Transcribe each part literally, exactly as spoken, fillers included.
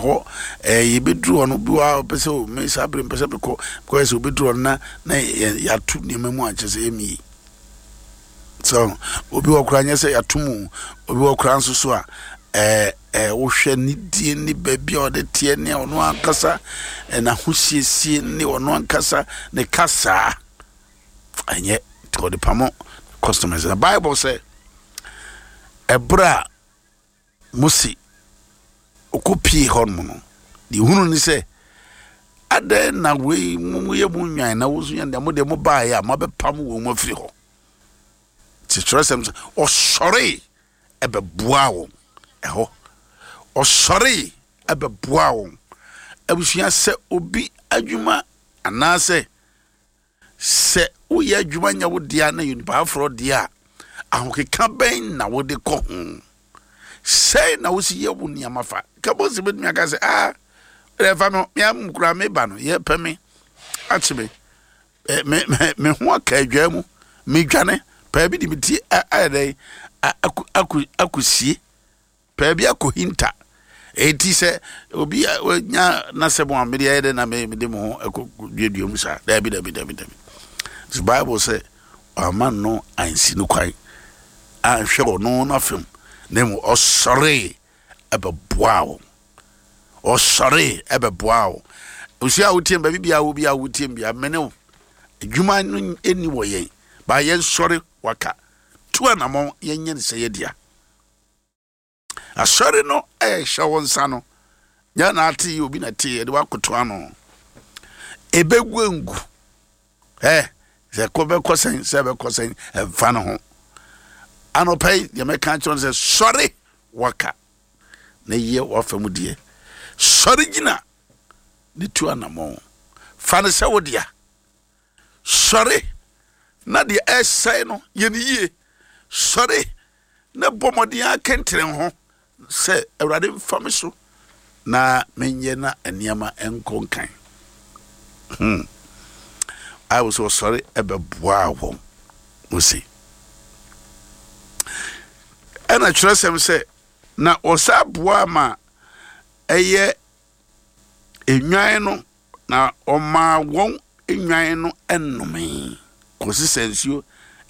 Ɛhɔ ɛɛ yɛbɛduru hɔ no, bi wɔ a ɔpɛ sɛ o me saa bere mpɛ sɛ mekɔ kɔyɛ sɛ obɛduru hɔ no na na yɛato nneɛma mu ankyɛ sɛ ɛmi yi. So obi wɔ koraa nyɛ sɛ yɛato mu, obi wɔ koraa nso so a ɛɛ ɛɛ wohwɛ ne die ne baabi a ɔde teɛ ne ɔno ankasa n'ahosiesie ne ɔno ankasa ne kasaa ɛnyɛ nti ɔde pamo customers. Na Bible sɛ ɛberɛ a Mose ɔkɔpie hɔ nom no, deɛ hunu ne sɛ adɛn na wei moyɛ mu nwan na wo nso yɛ deɛ mo deɛ mobaeɛ a moabɛpam wɔn mu afiri hɔ. Nti kyerɛsɛm sɛ ɔsɔre ɛbɛboa wɔn ɛhɔ, ɔsɔre ɛbɛboa wɔn. Abusua, sɛ obi adwuma anaasɛ sɛ woyɛ adwuma nyɛ wo dea na yɛ nipa aforɔ deɛ a, ahokeka bɛn na wode kɔ ho? Sɛn na wosi yɛ wo nneɛma fa ka Mose bɛtumi aka sɛ ah ɛfa me mea mu koraa meba no yɛpɛ me akye me me me me ho aka adwaa mu medwane paa bi de me ti ayɛ dɛn akɔsie paa bi akɔhinta. Enti sɛ obi nya n'asɛm a mede ayɛ dɛn na mede mo ho akɔ duadua mu saa? Dabi, dabi, dabi, dabi. So Bible sɛ ɔama no ansi no kwan anhwɛ ɔno n'afam, na mmom ɔsɔre ɛbɛboa wo, ɔsɔre ɛbɛboa wo. Osi a wotie baabi bia wo bia wotie bia mene wo adwuma no ɛni wɔ yɛn ba yɛn sɔre waka tu anamɔ yɛnyɛ ne sɛ yɛ dea. Asɔre no ɛhyɛ wo nsa no nyɛ na ate yi obi na te yɛde wakoto ano ebegu ngu ɛ sɛ kɔ bɛkɔ sɛn sɛ bɛkɔ sɛn ɛmfa no ho. Anɔpa yi deɛ mɛka kyerɛ no sɛ sɔre waka na yɛ wafa mu deɛ, sɔre gyina ne tu anamɔ fa no sɛ wo dea. Sɔre na deɛ ɛsɛe no yɛ ne yie. Sɔre na bɔ mmɔden akɛntene ho sɛ Awurade mfa me so na menyɛ na nneɛma nkɔ nkan. Hmm. Bible sɛ ɔsɔre ɛbɛboa wɔn Mose. Ɛna kyerɛsɛm sɛ na ɔsa boa ma ɛyɛ enwan no na ɔmaa wɔn enwan no ɛnome kɔsi sɛ nsuo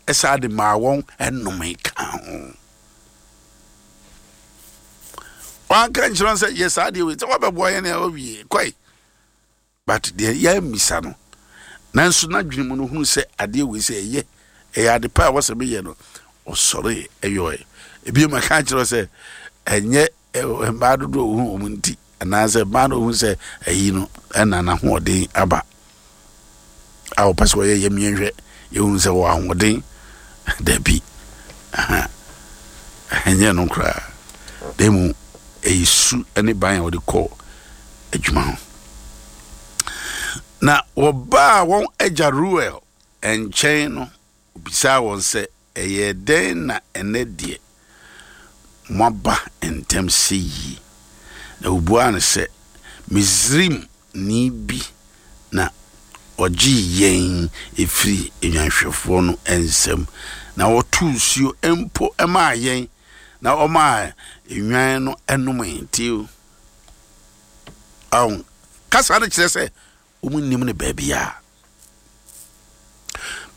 ɛsa de maa wɔn ɛnome ka ho. Wanka nkyerɛ sɛ yɛ saa deɛ wei sɛ wɔbɛboa yɛn a wɔwie kɔe, but deɛ yɛmmisa no nanso n'adwene mu no hunu sɛ adeɛ wei sɛ ɛyɛ ɛyɛ ade pa a wɔsɛ meyɛ no, ɔsɔre ɛyɔɛ. Ebi mu ka kyerɛ sɛ ɛnyɛ mmaa dodoɔ ohun wɔn nti anaasɛ mmaa no ohun sɛ ɛyi no ɛna n'ahoɔden aba a wɔpɛ sɛ wɔyɛ yɛ mmiɛnhwɛ yɛhun sɛ wɔ ahoɔden dabi ɛnyɛ no koraa na mu ɛyɛ su ne ban a wɔde kɔ adwuma ho. Na wɔbaa wɔn agya Ruel nkyɛn no, obisaa wɔn sɛ ɛyɛ dɛn na ɛnɛ deɛ moaba ntɛm sɛ yie? Na obuaa no sɛ Misrim ni bi na ɔgyee yɛn ɛfiri nnwanhwɛfoɔ no nsam na wɔtoo nsuo mpo maa yɛn na ɔmaa nnwan no nom. Nti ɔn kasa no kyerɛ sɛ wɔn nim no baabi a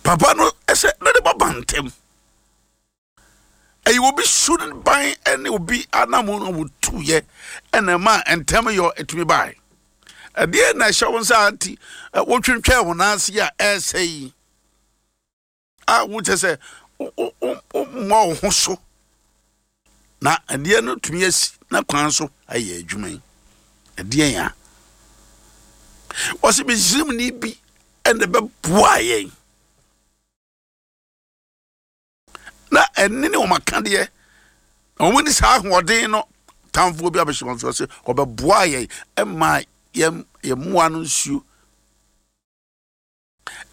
papa no ɛsɛ ne de bɔba ntɛm ɛyɛ obi su ne ban ne obi anam no wotuyɛ ɛna ɛma ntɛm yɔ ɛtumi bae. Ɛdeɛ na ɛhyɛ wɔn nsa nti wotwentwɛn wɔn ase a ɛresɛ yi a wokyɛ sɛ wommɔ wo ho so na ɛdeɛ no tumi asi na kwan so ayɛ adwuma yi. Ɛdeɛ yɛn a wɔsi Misrimni bi ɛna ɛbɛboa yɛn na ɛne ne wɔn akadeɛ na wɔn ni saa ahoɔden no tamfoɔ bi abɛhyɛ wɔn so sɛ ɔbɛboa yɛn ɛma yɛn yɛn mmoa no nsuo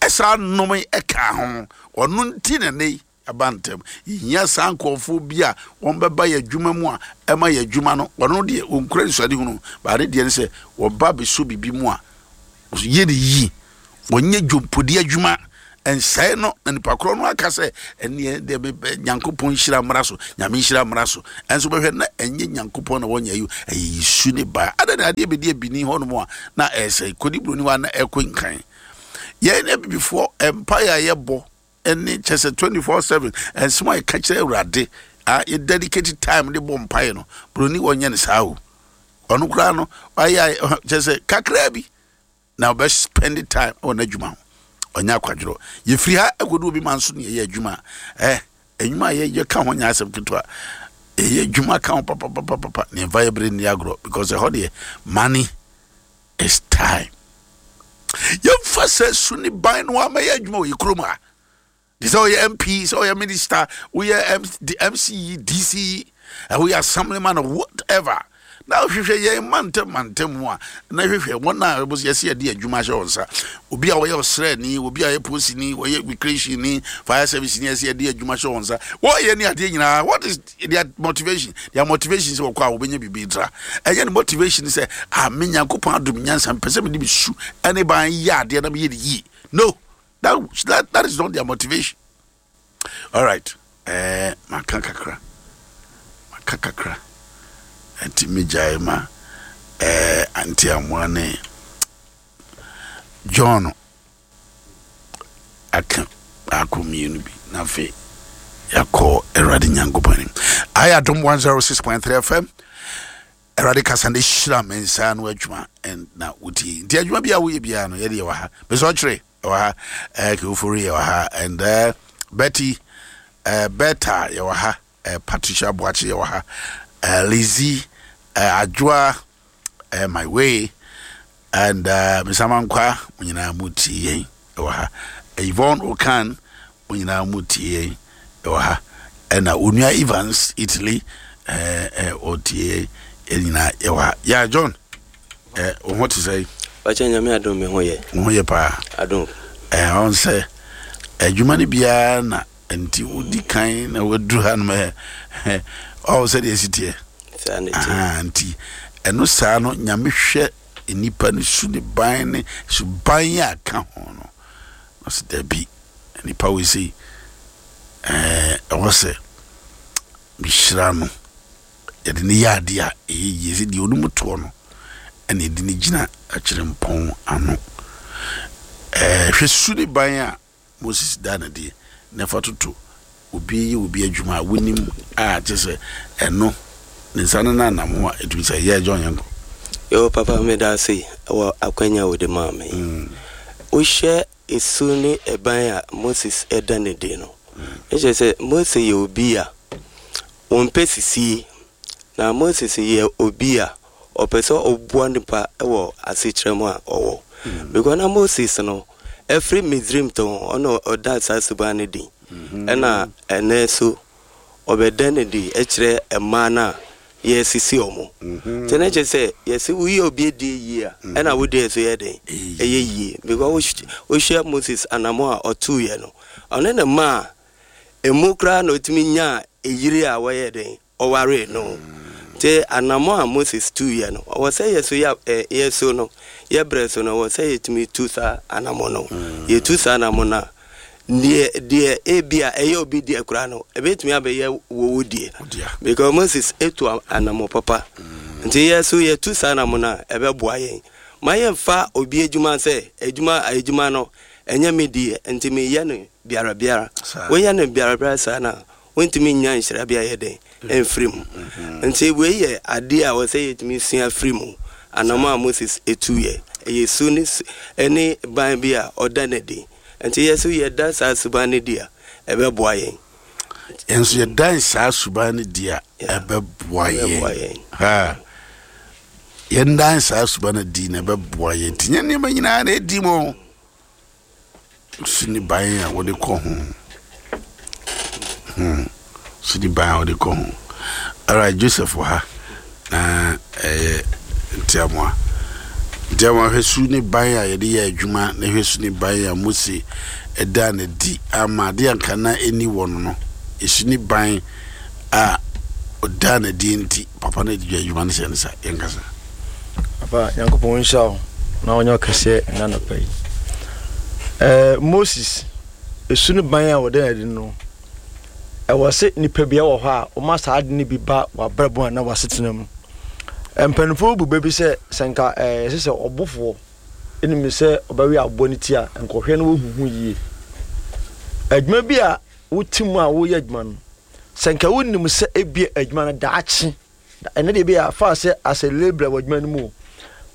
ɛsaa nnome ɛka ho. Ɔno nti na ne aba ntɛm. Yɛhia saa nkurɔfoɔ bi a wɔn bɛba yɛ adwuma mu a ɛma yɛ adwuma no ɔno deɛ ɔnkura nsuade hunu baade deɛ no sɛ wɔba bɛso biribi mu a yɛ ne yie, wɔnyɛ dwompodi adwuma Ɛnsɛe no na nipa korɔ no aka sɛ ɛneɛ deɛ Nyankopɔn nhyira mmra so, Nyame nhyira mmra so. Ɛnso bɛhwɛ na ɛnyɛ Nyankopɔn na wɔnyɛ yi, ɛyɛ Yesu ne ba. Adɛn na adeɛ bɛdi abini hɔnom a na ɛsɛe, kɔdi buroni hɔ a na ɛkɔ nkan? Yɛn ne abibifoɔ mpaeɛ a yɛbɔ ɛne kyɛ sɛ twenty-four seven ɛnsɛm a yɛka kyerɛ Awurade a yɛ dedicate time de bɔ mpaeɛ no, buroni wɔnyɛ no saa o. Ɔno koraa no wayɛ kyɛ sɛ kakraa bi na ɔbɛ spend time wɔ n'adwuma ho, ɔnyɛ akwadworɔ. Yɛfiri ha ɛkɔdu obi ma nso ne yɛyɛ adwuma ɛ adwuma a yɛyɛ ka ho nyɛ asɛm ketewa, ɛyɛ adwuma ka ho papapapapa ne yɛmfa yɛ bere nni agorɔ, because ɛhɔ deɛ money is time. Yɛmfa sɛ su ne ban no ama yɛ adwuma wɔ yɛ kurom a de sɛ ɔyɛ M P, sɛ ɔyɛ minister, woyɛ M C E, D C E, woyɛ assemblyman, whatever, na wohwehwɛ yɛn mantam mantam mu a, na hwehwɛ wɔn a yɛsɛ yɛde adwuma ahyɛ wɔn nsa, obi a wɔyɛ ɔsrɛni, obi a ɔyɛ polisini, wɔyɛ immigration ni, fire service ni, yɛsɛ yɛde adwuma hyɛ wɔn nsa, wɔyɛ ne adeɛ nyinaa. What is their motivation? Their motivation sɛ wɔkɔ a wɔbɛnya biribi tra. Ɛnyɛ ne motivation sɛ ah, me Nyankopɔn adom nyansa, mpɛ sɛ mede me su ɛne ban yɛ adeɛ na meyɛ ne yie. No, that, that, that is not their motivation. All right, ɛɛ maka kakra, maka kakra, nti megyae ma ɛɛ Ante Amoa ne John aka baako mmienu bi na afei yɛakɔ Awurade Nyankopɔn anim. Ayɛ Adom one oh six point three F M, Awurade kasa ne hyira me nsa no adwuma na wotie. Nti adwuma bi a woyɛ biara no, yɛde yɛwɔ ha, mesɛ ɔkyerɛ yɛwɔ ha, ɛɛ Kewofori yɛwɔ ha, and uh, Betty uh, Beta yɛwɔ ha, uh, Patricia Boakye yɛwɔ ha, uh, Lizzie, uh, Adwoa, uh, my way and uh, Misamankwa, mo nyinaa mu tie yɛn ɛwɔ ha. Yvonne Okan, mo nyinaa mu tie yɛn ɛwɔ ha, ɛna Onua Evans Italy ɛɛ ɔtie yɛn. Yɛn nyinaa yɛwɔ ha. Ya John, ɛɛ wo ho te sɛ? Wakyɛ, Nyame adom, me ho yɛ. Wo ho yɛ paa. Adom. Ɛɛ ɔn sɛ adwuma no biara na nti wodi kan na waduru ha nom ɛ ɔwɔ sɛdeɛ ɛsi teɛ. Saa ne teɛ. Nti ɛno saa no, Nyame hwɛ nipa no su ne ban ne suban a ka ho no, ɔsɛ dabi, nipa wei sei ɛɛ ɛwɔ sɛ mehyira no, yɛde ne yɛ adeɛ a ɛyɛ yie, sɛ deɛ onim toɔ no ɛna yɛde ne gyina akyerɛmpɔn ano. ɛɛ hwɛ su ne ban a Moses da ne deɛ na ɛfa toto obi yɛ obi adwuma a wonim a kyerɛ sɛ ɛno ne nsa no nanam ho a ɛtumi sɛ yɛ John, yɛnkɔ. Yo papa, meda ase wɔ akwanya a wode maa me. Wohwɛ esu ne ɛban a Moses ɛda ne di no, ɛkyerɛ sɛ Mose yɛ obi a wɔmpɛ sisie, na Moses yɛ obi a ɔpɛ sɛ ɔboa nipa wɔ asekyerɛ mu a ɔwɔ, because na Moses no ɛfiri Misrim to ɔna ɔda saa suban no di, ɛna ɛnɛ so ɔbɛda no di ɛkyerɛ mmaa no a yɛsisi ɔmo. Nti ne kyerɛ sɛ yɛsi woyɛ obi adi yie a, ɛna wodi so yɛ den ɛyɛ yie, because wohwɛ Moses anamo a ɔtuiɛ no, ɔne ne mmaa emu koraa na otumi nyaa eyiri a wɔyɛ den ɔwaree no. Nti anamo a Moses tuiɛ no, ɔwɔ sɛ yɛ so yɛ ɛ yɛ so no, yɛ brɛ so no, ɔwɔ sɛ yɛtumi tu saa anamo no. Yɛtu saa anamo no a, deɛ deɛ ebi a ɛyɛ obi deɛ koraa no, ebetumi abɛyɛ wɔwɔ deɛ, because Moses etu anamo papa. Nti yɛ so yɛtu saa anamo no a, ɛbɛboa yɛn ma yɛmfa obi adwuma sɛ adwuma adwuma no ɛnyɛ me deɛ, nti meyɛ no biara biara. Woyɛ no biara biara saa na wontumi nya nhyira bi ayɛ den ɛmfiri mu. Nti wei yɛ adeɛ a wɔsɛ yɛtumi sua firi mu. Anamo a Moses etu yɛ, ɛyɛ su ne ɛne ban bi a ɔda n'adi, nti yɛ so yɛda saa suban no di a, ɛbɛboa yɛn. Yɛn nso yɛdan saa suban no di a, ɛbɛboa yɛn. Ha yɛndan saa suban no di na ɛbɛboa yɛn. Nti nyɛ nneɛma nyinaa na ɛdi mu su ne ban a wɔde kɔ ho hmm. Su ne ban a wɔde kɔ ho. Alright, Joseph wɔ ha na ɛyɛ Ntiamoa. Ntiamoa, hwɛ su ne ban a yɛde yɛ adwuma, na hwɛ su ne ban a Mose ɛda ne di ama adeɛ anka na ɛni wɔ no no esu ne ban a ɔda ne di nti papa no de adwuma no hyɛ ne sa. Yɛnkasa. Papa, Nyankopɔn nhyira wo na ɔnyɛ ɔkɛseɛ ɛna nɔpa yi. Ɛɛ Moses Esu ne ban a wɔda no adi no, ɛwɔ sɛ nipa bi wɔ hɔ a wɔma saa ade no bi ba w'abrabɔ anaa w'asetena mu. Mpanimfoɔ bu bɛ bi sɛ sɛ nka ɛɛ ɛsɛ sɛ ɔbofoɔ nim sɛ ɔbɛwe aboa no ti a, nkɔhwɛ no wɔhu ho yie. Adwuma bi a wote mu a woyɛ adwuma no, sɛ nka wonim sɛ ebia adwuma no daakye, ɛnɛ deɛ ebia fa sɛ as a labourer wɔ adwuma no mu o,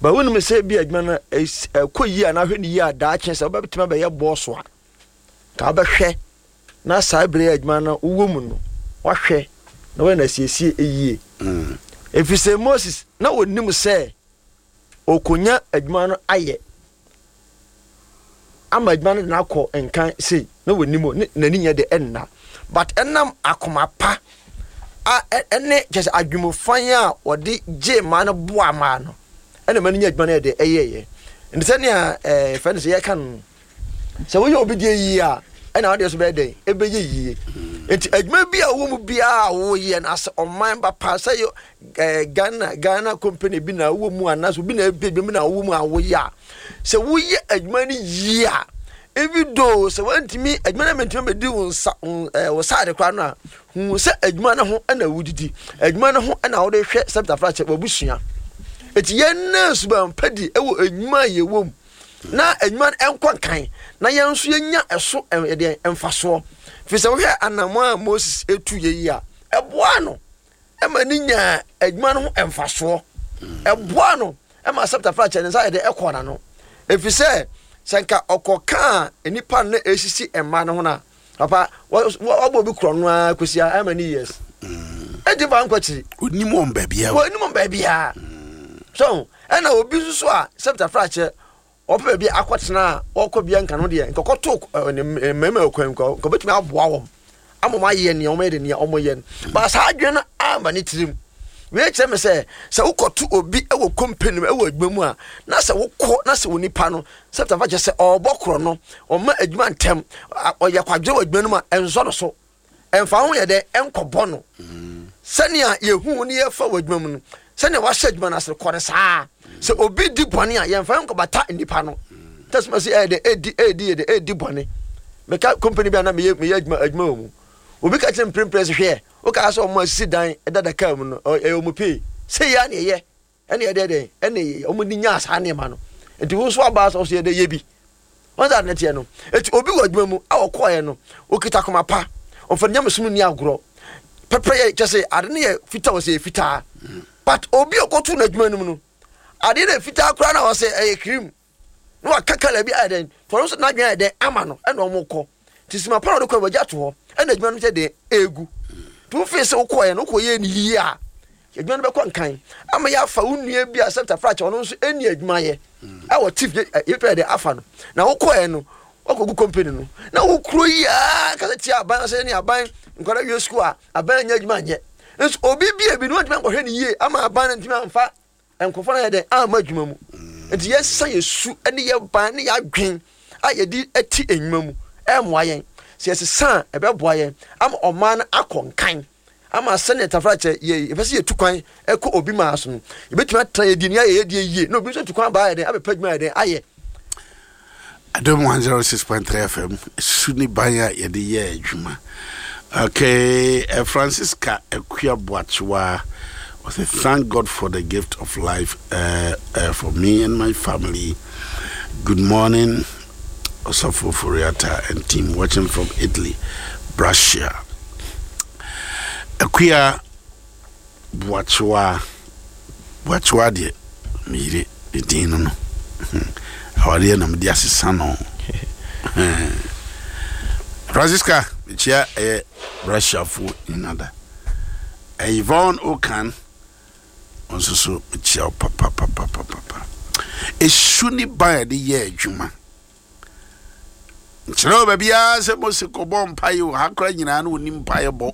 but wonim sɛ ebia adwuma no ɛkɔ yie anaa ahwɛ no yie a daakye sɛ wobɛtumi abɛyɛ bɔɔso a, nka wobɛhwɛ na saa bere a adwuma no wowɔ mu no wahwɛ na wɔyɛ no asiesie yie. Mm. Ɛfiri sɛ Moses na ɔnim sɛ ɔkɔnya adwuma no ayɛ ama adwuma no de no akɔ nkan sei na wɔnim ne n'ani nyɛ de ɛnna, but ɛnam akoma pa a ɛne kyɛ sɛ adwumufan a wɔde gye mmaa no boa mmaa no ɛna mmaa no nya adwuma no yɛ de ɛyɛɛyɛ. Nti sɛnea ɛɛ fɛn no sɛ yɛka no, sɛ woyɛ obi deɛ yie a, ɛna wodeɛ so bɛyɛ dɛn? Ɛbɛyɛ yie. Nti adwuma bi a wowɔ mu biara a woyɛ no asɛ ɔman ba pa sɛ yɛ ɛɛ Ghana Ghana company bi na wowɔ mu anaasɛ obi na ebi adwuma bi na wowɔ mu a woyɛ a, sɛ woyɛ adwuma no yie a, even though sɛ wantumi adwuma no mɛntumi bɛdi wo nsa ɛɛ wo saade koraa no a, hu sɛ adwuma no ho ɛna wodidi, adwuma no ho ɛna wode hwɛ sɛ bitafra kyɛ wabusua. Eti yɛn na suban pa di ɛwɔ adwuma a yɛwɔ mu na adwuma no nkɔ nkan na yɛn nso yɛnya ɛso ɛdeɛ mfasoɔ. Firi sɛ wohwɛ anammɔn a Moses etu yɛ yi a, ɛboa no ɛma ne nyaa adwuma no ho mfasoɔ, ɛboa no ɛma sɛptafra kyɛ ne nsa yɛ de ɛkɔ n'ano. Ɛfiri sɛ sɛ nka ɔkɔ kaa nnipa no na ɛsisi mma no ho no a, papa wabɔ obi korɔ no ara kɔsi a ɛma ne years ɛnti fa nkɔ akyiri. Onim wɔn baabiara, onim wɔn baabiara. So ɛna obi nso so a sɛptafra kyɛ ɔpɛ baabi akɔtena a ɔkɔ bia nka no deɛ nka ɔkɔto mmarima kwan nka ɔbɛtumi aboa wɔn ama wɔn ayɛ nea wɔyɛ de nea wɔyɛ no ba. Saa adwene no ama ne tirim. Wei kyerɛ me sɛ sɛ wokɔto obi wɔ company mu wɔ adwuma mu a, na sɛ wokɔ na sɛ onipa no sɛptafa kyɛ sɛ ɔrebɔ korɔ no, ɔma adwuma ntɛm, ɔyɛ kwadwene wɔ adwuma no mu a, ɛnsɔ no so, ɛmfa ho yɛ dɛ ɛnkɔbɔ no. Sɛnea yɛhu ne yɛfa wɔ adwuma mu no, sɛnea wahyɛ adwuma no ase kɔ no saa. Sɛ obi di bɔne a, yɛmfa nkɔbata nnipa no tɛsima sɛ ɛyɛ dɛ ɛdi ɛdi yɛ dɛ ɛdi bɔne. Meka company bi a na meyɛ meyɛ adwuma adwuma wɔ mu, obi ka kyerɛ mprempren sɛ hwɛ, woka sɛ ɔmo asisi dan dada kaa mu no, ɛyɛ ɔmo pay sɛ yɛ a na ɛyɛ ɛna ɛdɛ dɛn ɛna ɔmo de nyaa saa nneɛma no. Nti wo nso aba sɛ ɔso yɛ dɛ yɛ bi wɔn sɛ ade teɛ no. Eti obi wɔ adwuma mu a ɔkɔɔɛ no, okita koma pa, ɔmfa nyamesom nni agorɔ pɛpɛ, yɛ kyɛ sɛ ade no yɛ fitaa, wɔ sɛ yɛ fitaa. But obi a ɔkɔto no adwuma no mu no, adeɛ no yɛ fitaa koraa na ɔsɛ ɛyɛ cream na waka kala bi ayɛ dɛn tɔno nso n'adwene ayɛ dɛn ama no ɛna ɔmo kɔ. Nti sima pa na ɔde kɔ wagya ato hɔ ɛna adwuma no sɛ dɛn egu. Nti wofee sɛ wokɔɔɛ no, wokɔ yɛ ne yie a, adwuma no bɛkɔ nkan ama yɛafa wo nua bi a sɛ tafra kyɛ ɔno nso ɛni adwuma yɛ ɛwɔ chief yɛpɛ dɛ afa no. Na wokɔɛ no wakɔgu company no na wokuro yi a kasa tia aban sɛ ne aban nkwadaa wie sukuu a aban nyɛ adwuma nyɛ nso obi bi ebi no ntumi ankɔhwɛ ne yie ama aban no ntumi amfa nkurɔfoɔ no ayɛ dɛ amma adwuma mu. Nti yɛsesa yɛ su ne yɛ ban ne yɛ adwen a yɛde ti nnwuma mu ɛmmoa yɛn. Sɛ yɛsesa a, ɛbɛboa yɛn ama ɔman no akɔ nkan, ama sɛnea tafra kyɛ yɛ yɛpɛ sɛ yɛtu kwan kɔ obi maa so no, yɛbɛtumi atena yɛdi ne ayɛ yɛdeɛ yie na obi nso atu kwan aba ayɛ dɛn abɛpɛ adwuma ayɛ dɛn ayɛ. Adom one oh six point three F M, su ne ban a yɛde yɛ adwuma. Okay, uh, Francisca Akua Boachewa was a thank God for the gift of life uh, uh, for me and my family. Good morning, Osafo Furiata and team watching from Italy, Brescia. Akua Boachewa, Boachewa deɛ meyere ne din no no awareɛ na mede asesa no. Francisca, mekyia ɛyɛ Russiafoɔ nyina da. Yvonne Okan nso so mekyia wo papapapapapa. Esu ne ban a yɛde yɛ adwuma nkyerɛ wɔ baabiara sɛ Mose kɔbɔ mpaeɛ o. Ha kora nyinaa no ɔnim mpaeɛ bɔ,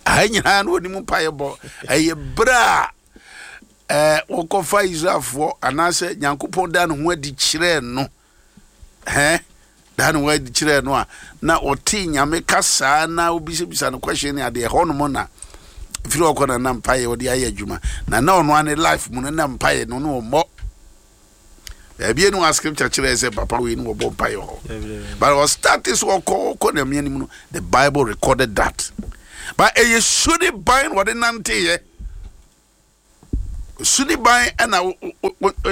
aha nyinaa no ɔnim mpaeɛ bɔ. Ɛyɛ berɛ a ɛɛ wɔkɔfa Israelfoɔ anaasɛ Nyankopɔn da ne ho adi kyerɛɛ no, hɛn da ne ho adi kyerɛɛ no a na ɔte Nyame kasaa na obisabisa no question ne adeɛ hɔnom na firi ɔkɔ na na mpaeɛ ɔde ayɛ adwuma na na ɔno ane life mu no na mpaeɛ no no ɔmmɔ baabi enu a scripture kyerɛ sɛ papa wei no wɔbɔ mpaeɛ hɔ, but ɔstart Ɔstarte sɛ ɔkɔ ɔkɔ Nyame anim no, the Bible recorded that. But ɛyɛ su ne ban na ɔde nanteeɛ. Su ne ban ɛna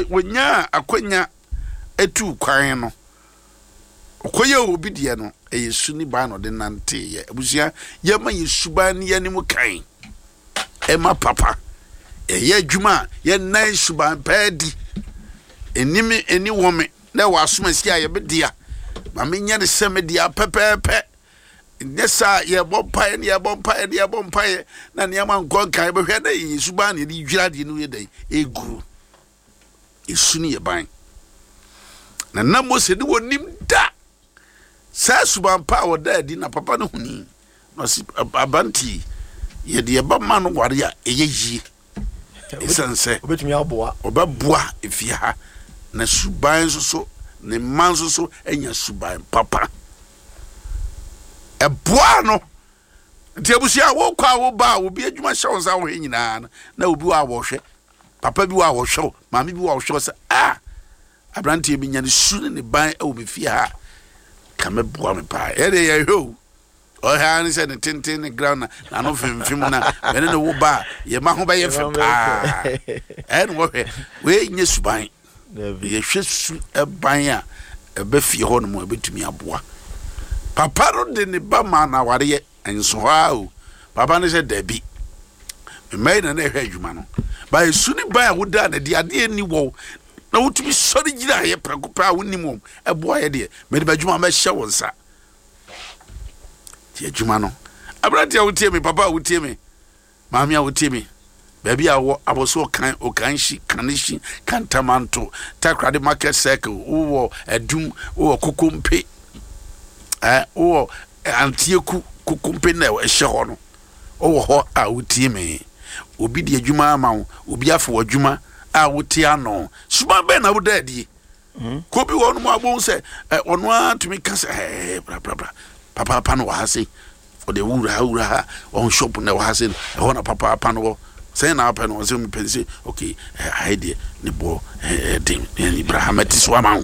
wɔnyaa akwanya etu kwan no. Ɔkɔyɛ obi deɛ no, ɛyɛ su ne ban na ɔde nanteeɛ. Abusua, yɛma yɛ suban ne yɛn kan. Ɛma papa. Ɛyɛ adwuma a yɛnan suban pɛɛ di. Ɛni ɛni wɔ me na ɛwɔ asomasi a yɛbɛdea. Ma menyɛ ne sɛ medea pɛpɛɛpɛ. Nyɛ saa, yɛbɔ mpaeɛ ne yɛbɔ mpaeɛ ne yɛbɔ mpaeɛ na nneɛma nkɔ nkan, bɛhwɛ na yɛ suban na yɛde dwira adeɛ no yɛ dɛn ɛgu. Esu ne yɛ ban. Na na Mose ne wɔnim da saa suban pa a wɔda adi na papa no huni na ɔsi abanti yɛde yɛba ma no ware a ɛyɛ yie, ɛsiane sɛ obetumi aboa. Ɔbɛboa efie ha na suban nso so ne mma nso so anya suban papa ɛboa no. Nti abusua, wokɔ a woba a, obi adwuma hyɛ wo nsa wohwɛ nyinaa no, na obi wɔ a wɔhwɛ, papa bi wɔ a wɔhwɛ wo, maame bi wɔ a wɔhwɛ wo sɛ a aberanteɛ bi nya ne su ne ne ban wɔ me fie ha ka mɛboa me paa. Ɛdeɛ yɛhwɛ o, ɔhwɛ ara ne sɛ ne tenten ne ground na n'ano femfem na mɛne ne wo ba a yɛma ho bɛyɛ fɛ paa. Ɛne wɔhwɛ wei nyɛ suban. Yɛhwɛ su ɛban a ɛbɛ fie hɔ nom a ɛbɛtumi aboa. Papa no de ne ba ma na awareɛ nso hɔ a o, papa no sɛ dabi, mmaa yi na na ɛhwɛ adwuma no ba. Esu ne ban a woda na de adeɛ ni wɔ na wotumi sɔre gyina ayɛ prɛko pɛ a wonim wɔm ɛboa yɛ deɛ, mɛde ba adwuma mɛhyɛ wɔn nsa. Ti adwuma no, aberante a wotie me, papa a wotie me, maame a wotie me, baabi a wɔ abɔso ɔkan Ɔkanhyi, Kanehyi, Kantamanto, Takoradi Market Circle, wowɔ Adum, wowɔ Kokompe, ɛɛ wowɔ Antieku Kokompe na ɛhyɛ hɔ no, wowɔ hɔ a wotie me, obi di adwuma ama wo, obi afɔ wɔ adwuma a wote ano, suban bɛn na woda adie? Ko bi wɔ hɔ nom a wobɛhu sɛ ɛ ɔno ara tumi ka sɛ ɛɛ bra bra bra, papaapa no wɔ ha sei, ɔde wura ha, wura ha, ɔn shop na ɛwɔ ha sei no, ɛhɔ na papaapa no wɔ. Sɛn na apɛ no? Ɔsɛ mepɛ sɛ ok, ɛ ha deɛ ne boɔ ɛ den, ɛ bra ha mɛte so ama wo.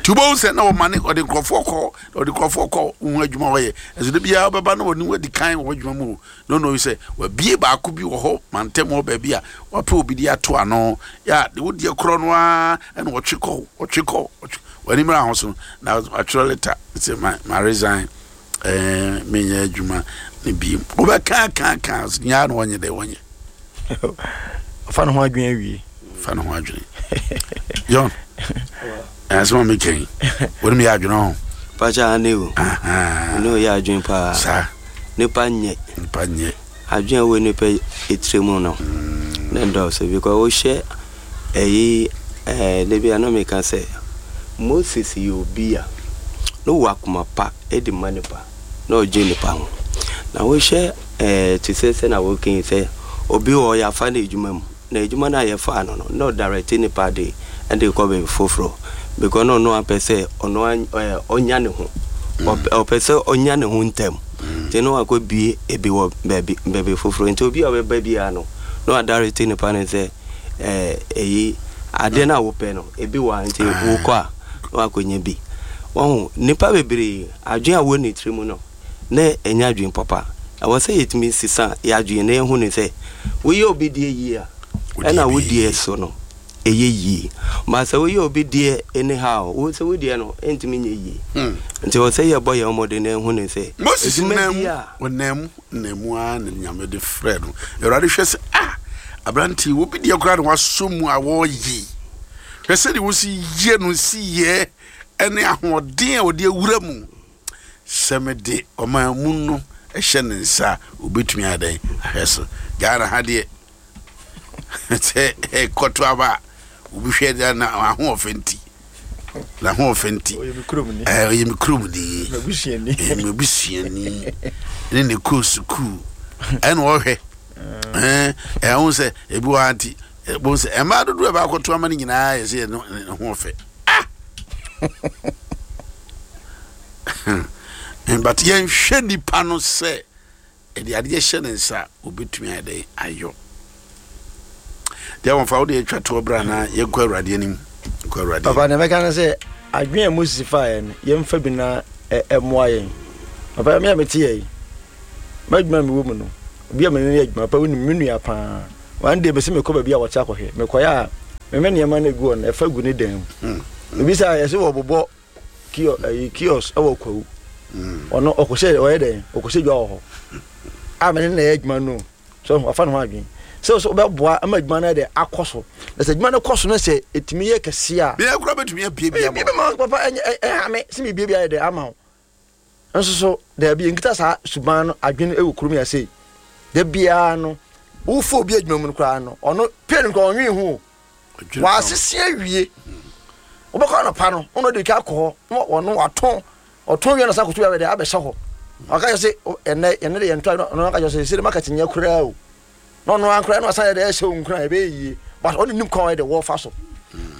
Nti wobɛhu sɛ na ɔma ne ɔde nkurɔfoɔ kɔ, ɔde nkurɔfoɔ kɔ ho adwuma wɔyɛ ɛso de biara wobɛba na ɔne wadi kan wɔ adwuma mu o, na ɔno sɛ wabie baako bi wɔ hɔ mantam hɔ baabi a wapɛ obi de ato ano yɛ a de wodeɛ korɔ no ara ɛna ɔtwe kɔ, ɔtwe kɔ, ɔtwe w'ani mmra ho so na atwerɛ letter sɛ ma ma resign, ɛɛ menyɛ adwuma ne bi. Wobɛka ka ka nyaa na wɔnyɛ dɛ wɔnyɛ. Ɔfa ne ho adwene awie. Fa ne ho adwene. John, ɛsɛ ma meka yi, wɔne meyɛ adwene ho. Pakyɛ ane o, ne ɔyɛ adwene paa. Saa. Nipa nyɛ. Nipa nyɛ. Adwene a ɛwɔ nipa etire mu no ne ndɔɔso, because wohyɛ ɛyi ɛɛ de bi a na meka sɛ Moses yɛ obi a ne wɔ akoma pa de ma nipa na ɔgye nipa ho. Na wohyɛ ɛɛ te sɛ sɛ na wɔka sɛ obi wɔ yɛafa no adwuma mu na adwuma no a yɛfaa no no na ɔdirect nipa de ɛde kɔ baabi foforɔ, because na ɔno apɛ sɛ ɔno ɛɛ ɔnya ne ho, ɔpɛ sɛ ɔnya ne ho ntɛm, nti na wakɔ bie ebi wɔ baabi baabi foforɔ. Nti obi a ɔbɛba biara no na wadirect nipa no sɛ ɛɛ eyi adeɛ no a wopɛ no ebi wɔ ha, nti wokɔ a na wakɔnya bi. Wɔn nipa bebree adwene a wɔ ne tiri mu no na ɛnyɛ adwene papa. Ɛwɔ sɛ yɛtumi sisa yɛ adwene na yɛhu ne sɛ woyɛ obi deɛ yie a, ɛna wo deɛ so no ɛyɛ yie, ma sɛ woyɛ obi deɛ anyhow, wo sɛ wo deɛ no ɛntumi nyɛ yie. Nti ɛwɔ sɛ yɛbɔ yɛn mmɔden na ɛhu ne sɛ Moses adwuma nam bi mu a ɔnam mu nam mu ara na Nyame de frɛ no. Awurade hwɛ sɛ ah, aberante, obi deɛ koraa na wasɔ mu a wɔreyi, hwɛ sɛdeɛ wosi yie no si yɛ ɛne ahoɔden a wɔde awura mu sɛ mede ɔman mu no ɛhyɛ ne nsa a obɛtumi ayɛ dɛn ahwɛ so. Ghana ha deɛ, sɛ ɛkɔto aba a, obi hwɛ deɛ na ahoɔfɛ nti, n'ahoɔfɛ nti. Ɔyɛ me kurom ni. Ɛɛ, ɔyɛ me kurom ni. M'abusuani. Ɛyɛ m'abusuani ne ne kɔɔ sukuu ɛna ɔhwɛ ɛɛ ɛho sɛ ebi wɔ ha nti ɛbɔn sɛ mmaa dodoɔ a ɛbaakɔto ama no nyinaa yɛ sɛ yɛ ne ho ɔfɛ. Ah, but yɛnhwɛ nipa no sɛ ɛde adeɛ hyɛ ne nsa a obɛtumi ayɛ dɛn ayɔ deɛ wɔmfa wode atwa toɔ berɛ anaa yɛnkɔ Awurade anim, nkɔ Awurade Papa anim. Na mɛka no sɛ Adwene a Moses faeɛ no, yɛmfa bi na ɛmmoa yɛn. Papa, me a mete yɛ yi, m'adwuma a mewɔ mu no, obi a mene no yɛ adwuma, papa wonim me nua paa. One day mese mekɔ baabi a wɔte akɔhwɛ. Mekɔyɛ a, meme nneɛma no egu hɔ no, ɛfa gu ne dan mu. Ebi sɛ yɛsɛ wɔbobɔ kio ɛyi kiosk ɛwɔ Kwawu. Ɔno ɔkɔhyɛ ɔyɛ dɛn? Ɔkɔhyɛ dwa wɔ hɔ. A mene na ɛyɛ adwuma no. So wafa ne ho adwene. Sɛ sɛ wobɛboa ama adwuma no dɛ akɔ so. Na sɛ adwuma no kɔ so no sɛ ɛtumi yɛ kɛseɛ a. Bia kura bɛtumi abie bi ama. Bi bɛma papa ɛnyɛ ɛha me sɛ mebie bi ayɛ dɛ ama wo. Nso so daabi nkita saa suban no adwene ɛwɔ kurom yɛ sei. Da biara no wofo obi adwuma mu no koraa no ɔno pay no koraa ɔnwen ho o. Wasese awie. Wobɛkɔ anɔpa no ɔno de ka akɔ hɔ na ɔno watɔn ɔtɔn wie na san kɔto bi abɛdɛ abɛhyɛ hɔ. Ɔka kyerɛ sɛ ɛnɛ ɛnɛ de yɛntɔ ɔno aka kyerɛ sɛ sɛ de maka kyenya koraa o. Na ɔno ankora na ɔsan yɛ dɛ ɛhyɛ wo nkuran ɛbɛyɛ yie but ɔno nim kwan ɔyɛ dɛ wɔfa so.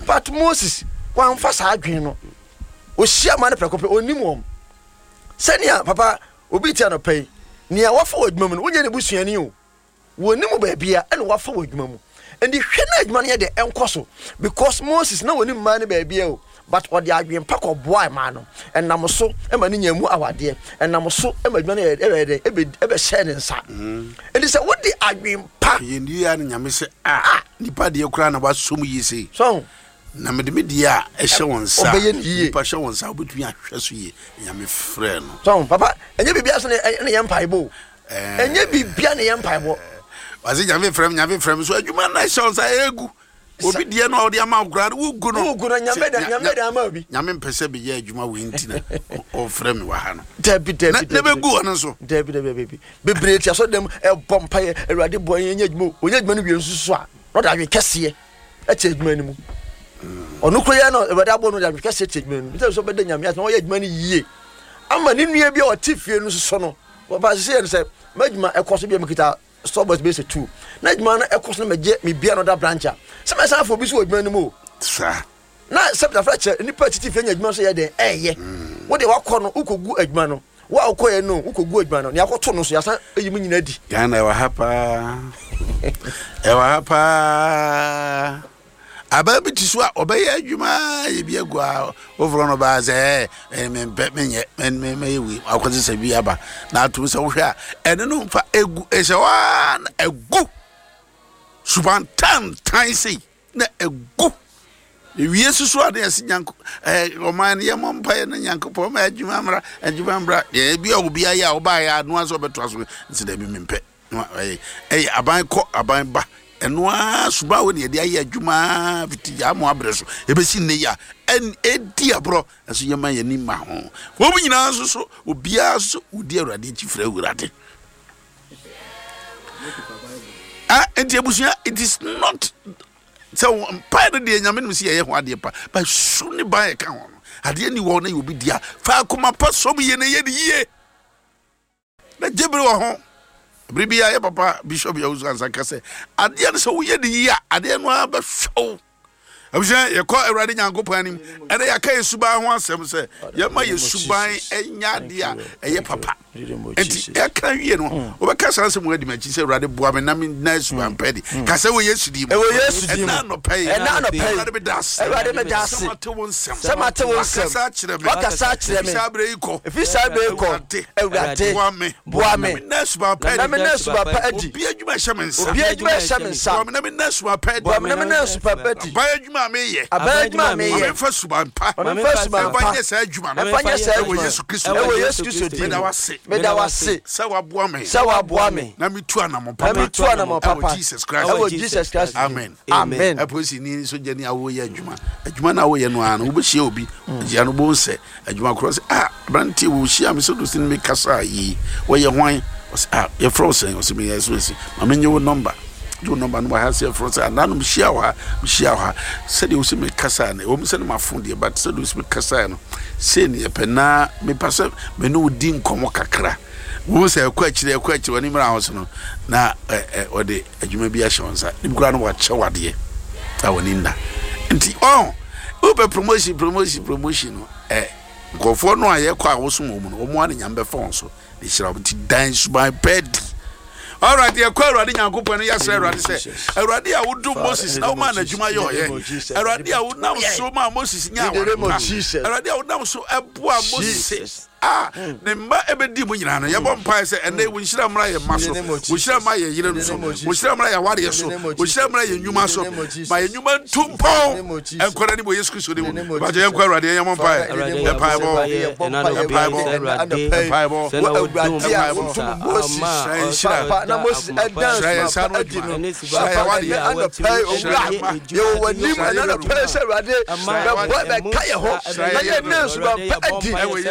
But Moses wamfa saa adwene no. Ohyia ma no prɛko pɛ onim wɔn. Sɛnea papa obi ti anɔpa yi nea wafa wɔ adwuma mu no wonyɛ ne busuani o. Wɔnim baabi a ɛna wafa wɔ adwuma mu. Nti hwɛ na adwuma no yɛ dɛ ɛnkɔ so because Moses na wɔnim mmaa no baabi a o but ɔde adwene pa kɔboa mmaa no. Ɛnam so ma ne nya mu awadeɛ. Ɛnam so ma adwuma no yɛ ɛbɛyɛ dɛ ɛbɛ ɛbɛhyɛ ne nsa. Nti sɛ wode adwene pa. Yɛn di ya no Nyame sɛ ah nipa deɛ koraa na wasom yie sei. So na mede me deɛ a ɛhyɛ wɔn nsa. Ɔbɛyɛ ne yie. Nipa hyɛ wɔn nsa wobɛtumi ahwɛ so yie. Nyame frɛ no. So papa ɛnyɛ biribiara so na ɛyɛ mpaebɔ o. Ɛnyɛ biribiara na ɛyɛ mpaebɔ. Wase Nyame frɛ m Nyame frɛ m so adwuma na ɛhyɛ wɔn nsa ɛgu. Obi deɛ no a ɔde ama wo koraa no wogu no. Wogu no Nyame da Nyame da ama obi. Nyame mpɛ sɛ meyɛ adwuma wei nti na ɔfrɛ me wɔ ha no. Dabi dabi dabi. Na bɛgu ɔno nso. Dabi dabi dabi. Bebree ti asɔ dɛm ɛbɔ mpaeɛ Awurade boa yɛn nyɛ adwuma o. Ɔnyɛ adwuma no wie nso so a na ɔde adwene kɛseɛ ɛte adwuma no mu. Ɔno koro yɛ no Awurade abɔ no de adwene kɛseɛ te adwuma no mu. Nti sɛ ɔbɛda Nyame ase na ɔyɛ adwuma no yie ama ne nua bi a ɔte fie no soso no. Wɔba sɛ yɛ no sɛ m'adwuma ɛkɔ so bi a mekita store boys bɛyɛ sɛ two na adwuma no ɛkɔ so na magye mebia no da branch a sɛ mɛsan afɔ obi so wɔ adwuma no mu o. Saa. Na sɛ tafra kyerɛ nipa titi fie nya adwuma so yɛ dɛn ɛyɛ. Wo de wakɔ no wokɔgu adwuma no wo a wokɔɛ no wokɔgu adwuma no nea akɔto no so yɛasan ayi mu nyina di. Ghana ɛwɔ ha paa ɛwɔ ha paa abaa bi ti so a ɔbɛyɛ adwuma yɛ bi agu a wofrɛ no baa sɛ ɛɛ mempɛ menyɛ mɛyɛ wei akɔte sɛ bi aba na atom sɛ wohwɛ a ɛno no mfa egu ɛhyɛ hɔ a na egu suban tantan sei na egu ewie soso a na yɛsi nyanko ɛɛ ɔman no yɛmɔ mpaeɛ na nyankopɔn ma adwuma mmra adwuma mmra deɛ ebi a obi ayɛ a ɔbaayɛ a anoa sɛ ɔbɛtoa so nsi dɛbi mempɛ ɛyɛ ɛyɛ aban kɔ aban ba ɛno ara suban wo ne yɛde ayɛ adwuma fiti gyaa mo abrɛ so ebesi nne yi a ɛn edi aborɔ ɛso yɛma yɛn ani ma ho wɔn nyinaa nso so obiara nso wodi Awurade akyi frɛ Awurade ah nti abusua it is not sɛ mpae no deɛ Nyame nim sɛ yɛyɛ ho adeɛ pa but su ne ban ɛka ho no adeɛ ni wɔ na yɛ obi di a fa akoma pa som yie na yɛ ne yie na gye bere wɔ ho bere bi a yɛ papa Bishop Yawusu ansa ka sɛ adeɛ no sɛ woyɛ ne yie a adeɛ no ara bɛhwɛ wo. Abusua yɛkɔ Awurade Nyankopɔn anim ɛnɛ yɛaka yɛ suban ho asɛm sɛ yɛma yɛ suban ɛnyɛ adeɛ a ɛyɛ papa nti ɛka wie no wobɛka saa nsɛm adi m'akyi sɛ Awurade boa me na menna suban pɛ de ka sɛ wɔ Yesu din mu Ɛwɔ Yesu din mu. Ɛna anɔpa yi Ɛna anɔpa yi. Awurade meda ase Awurade meda ase. sɛ mate wo nsɛm Sɛ mate wo nsɛm. Wakasa akyerɛ me Wakasa akyerɛ me. Ɛfiri saa berɛ yi kɔ Ɛfiri saa berɛ yi kɔ. Awurade Awurade boa me boa me. na menna suban pɛ Na de menna suban pa adi. Obi adwuma ɛhyɛ me nsa. Obi adwuma ɛhyɛ me nsa. Boa me na menna suban pa adi. Boa me na menna suban pa adi. Aban adwuma a meyɛ. Aban adwuma a meyɛ. Ma memfa suban pa. Ma memfa suban pa. Ɛmfa nyɛ saa adwuma no. Ɛmfa nyɛ saa adwuma Ɛwɔ no. Yesu Kristo Ɛwɔ Yesu Kristo din mu. Meda wo ase. Meda wo ase. Sɛ waboa me. Sɛ waboa me. Na metu anammɔn papa. Na metu anammɔn papa. Ɛwɔ Jesus Christ. Ɛwɔ Jesus Christ din. Amen. Amen. Apolisi ni sogyani a woyɛ adwuma. Adwuma no a woyɛ no ara no wobɛhyia obi. Gyia no wobɛhu sɛ adwuma korɔ sɛ ah aberanteɛ wɔ hyia me sɛ dosi no mekasa yi wɔyɛ hwan ɔsɛ ah yɛfrɛ wo sɛn ɔsɛ meyɛ so asi ma menye wo nɔmba gye wo nɔmba no wɔ ha sɛ yɛfrɛ wo sɛ ananom hyia wɔ ha mehyia wɔ ha sɛdeɛ wo sɛ mekasa no ɛwɔ mu sɛ no mafo deɛ but sɛdeɛ wo sɛ mekasa no sei ne yɛpɛ na mepɛ sɛ me ne wo di nkɔmmɔ kakra wo sɛ ɛkɔ akyire ɛkɔ akyire wɔne mmra ho so no na ɔde adwuma bi ahyɛ wo nsa ne bi koraa no wakyɛ wadeɛ a wɔne nna nti ɔn wopɛ promotion promotion promotion no ɛ nkurɔfoɔ no a yɛkɔ a wosom wɔn mu no wɔn a ne Nyame bɛfa wɔn so de hyira wɔn nti dan suban pɛ di Alright, yɛkɔ Awurade Nyankopɔn no, yɛsrɛ Awurade sɛ, Awurade a wodom Moses na womaa n'adwuma yɛ ɔyɛ, Awurade a wonam so maa Moses nya aware pa, Awurade a wonam so ɛboa Moses a ne mma ɛbɛdi mu nyinaa no, yɛbɔ mpae sɛ ɛnɛ wo nhyira mmra yɛn mma so, wo nhyira mmra yɛn yerenom so, wo nhyira mmra yɛn awareɛ so, wo nhyira mmra yɛn nnwuma so, ma yɛn nnwuma ntu mpɔn ɛnkɔ n'anim wɔ Yesu Kristo din mu. Bàtɛ yɛnkɔ Awurade, yɛn yɛmmɔ mpae, mpaebɔ, mpaebɔ, mpaebɔ, mpaebɔ, hyira yɛn nhyira, hyira yɛn nsa ano adwuma, hyira yɛn awareɛ, hyira yɛn mma, hyira yɛn yerenom, hyira yɛn yerenom,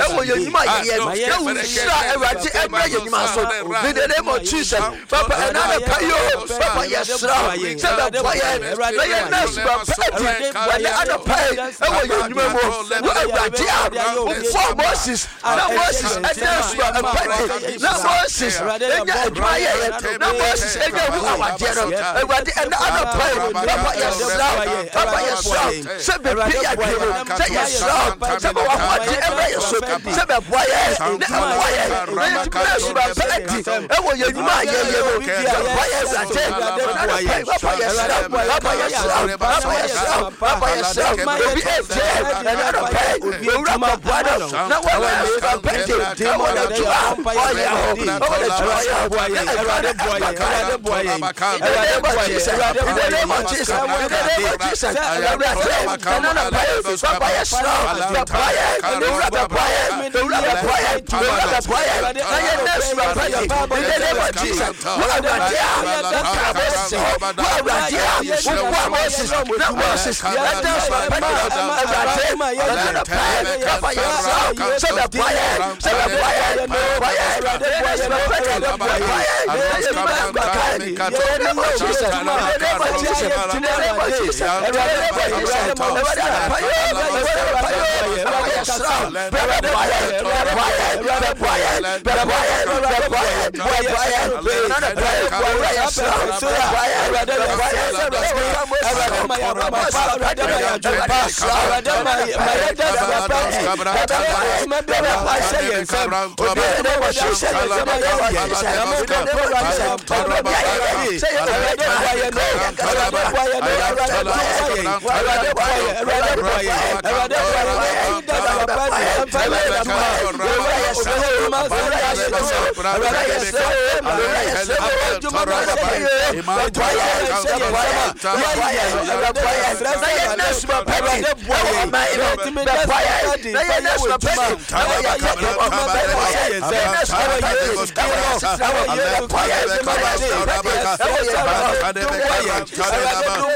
ɛwɔ Yesu Yɛn nnwuma a yɛyɛ no, na wo nhyira Awurade ɛmmerɛ yɛn nnwuma so. In the name of Jesus, Papa, ɛna anɔpa yi o, Papa, yɛsrɛ wo sɛ bɛboa yɛn na yɛn na suban pa adi ɛnɛ anɔpa yi ɛwɔ yɛn nnwuma mu. Wo Awurade a wobɔɔ Moses na Moses ɛda suban pa adi, na Moses ɛnya adwuma yɛyɛ, na Moses ɛnya wu awadeɛ no, Awurade, ɛnɛ anɔpa yi, Papa, yɛsrɛ wo, Papa, yɛsrɛ wo sɛ bɛbi yɛ adwene mu, sɛ yɛsrɛ wo sɛ ma w'ahoɔden mmra yɛ so, sɛ bɛboa yɛn na ɛmmoa yɛn na yɛtumi na suban pa adi ɛwɔ yɛn nnwuma a yɛyɛ mu. Bɛboa yɛn, Awurade, ɛna anɔpa yi, Papa, yɛsrɛ wo, Papa, yɛsrɛ wo, Papa, yɛsrɛ wo, Papa, yɛsrɛ wo, obi ɛntie ɛna anɔpa yi, owura kɔboa no na wɔna suban pa adi ɛwɔ n'adwuma a ɔyɛ ho, ɛwɔ n'adwuma a ɔyɛ ho, na adwuma no ɛmma kan. In the name of Jesus, in the name of Jesus, in the name of Jesus, Awurade, ɛna anɔpa yi, Papa, yɛsrɛ wo, bɛboa yɛn, owura bɛboa yɛn, owura bɛboa yɛn, owura bɛboa yɛn, na yɛn na suban pa adi. In the name of Jesus, wo Awurade a wokaa Moses ho, wo Awurade a woboa Moses na Moses ɛda suban pa adi no, Awurade, ɛna anɔpa yi, Papa, yɛsrɛ wo sɛ bɛboa yɛn, sɛ bɛboa yɛn, bɛboa yɛn, na yɛn na suban pa adi, bɛboa yɛn, na yɛn nnwuma ɛmma kan. In the name of Jesus, in the name of Jesus, in the name of Jesus, in the name of Jesus, Awurade anɔpa yi, Awurade anɔpa yi, Papa, yɛsrɛ wo, bɛboa yɛn, bɛboa yɛn, bɛboa yɛn, bɛboa yɛn, bɛboa yɛn, bɛboa yɛn, ɛna anɔpa yi, owura, yɛsrɛ wo, bɛboa yɛn, bɛboa yɛn, sɛ woka Moses ho, na Moses anɔpa yi, Awurade, yɛsrɛ wo, bɛboa yɛn, bɛboa yɛn, in the name of Jesus, in the name of Jesus, in the name of Jesus, ɔdɔ bi a yɛyɛ sɛ yɛ owura adwuma, yɛ nkasa adwuma, Awurade boa yɛn, Awurade boa yɛn, Awurade boa yɛn, Awurade boa yɛn, Awurade boa yɛn, Awurade boa yɛn, owura yɛsrɛ wo, owura yɛsrɛ wo, owura yɛsrɛ wo, owura yɛsrɛ wo, bɛboa yɛn, bɛboa yɛn, bɛboa yɛn, bɛboa yɛn, na yɛn na suban pa di ɛwɔ ɔman yi mu, bɛboa yɛn, na yɛn na suban pa di ɛwɔ yɛn abrabɔ mu, bɛboa yɛn, na yɛn na suban pa di ɛwɔ yɛn asetena mu, bɛboa yɛn, na yɛn suban pa di ɛwɔ yɛn adwuma